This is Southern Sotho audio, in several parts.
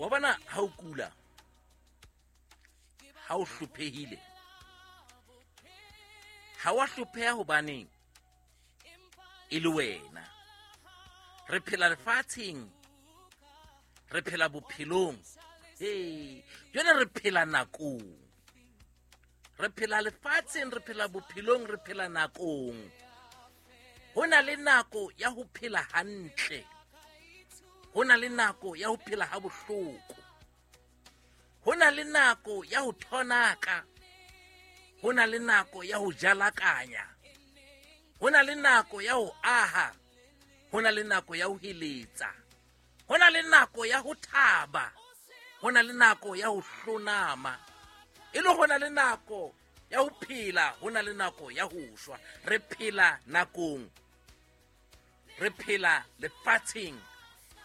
Wa bona ha o kula, ha o hlophehile, ha wa hlopheha hobaneng e le wena. Re phela lefatsheng, re phela bophelong, ee, jwale re phela nakong, re phela lefatsheng, re phela bophelong, re phela nakong. Ho na le nako ya ho phela hantle, ho na le nako ya ho phela ha bohloko, ho na le nako ya ho thonaka, ho na le nako ya ho jalakanya, ho na le nako ya ho aha, ho na le nako ya ho heletsa, ho na le nako ya ho thaba, ho na le nako ya ho hlonama, e le ho na le nako ya ho phela, ho na le nako ya ho shwa. Re phela nakong, re phela lefatsheng,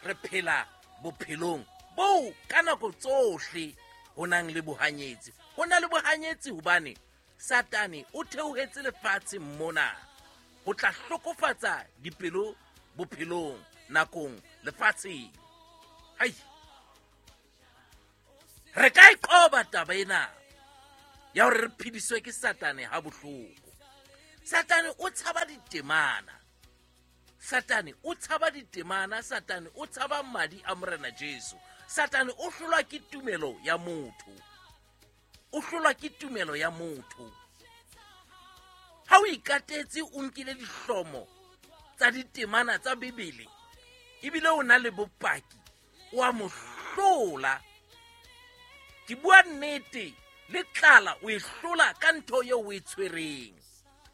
re phela bophelong boo ka nako tsohle ho nang le bohanyetsi. Ho na le bohanyetsi hobane Satane o theohetse lefatsheng mona ho tla hlokofatsa dipelo bophelong, nakong, lefatsheng. Hai, re ka e qoba taba ena ya hore re phediswe ke Satane ha bohloko. Satane o tshaba ditemana, Satane o tshaba ditemana, Satane o tshaba madi a Morena Jesu. Satane o hlolwa ke tumelo ya motho, o hlolwa ke tumelo ya motho. Ha o ikatetse, o nkile dihlomo tsa ditemana tsa Bibele, ebile o na le bopaki, o a mo hlola. Ke bua nnete, le tlala o e hlola ka ntho eo o e tshwereng,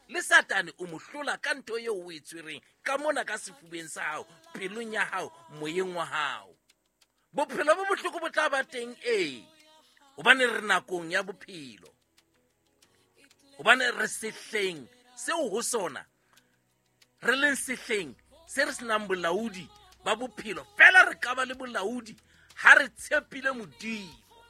le Satane o mo hlola ka ntho eo o e tshwereng ka mona ka sefubeng sa hao, pelong ya hao, moyeng wa hao. Bophelo bo bohloko bo tla ba teng, ee, hobane re nakong ya bophelo, hobane re sehleng seo ho sona re leng sehleng se re senang bolaodi ba bophelo. Fela re ka ba le bolaodi ha re tshepile Modimo.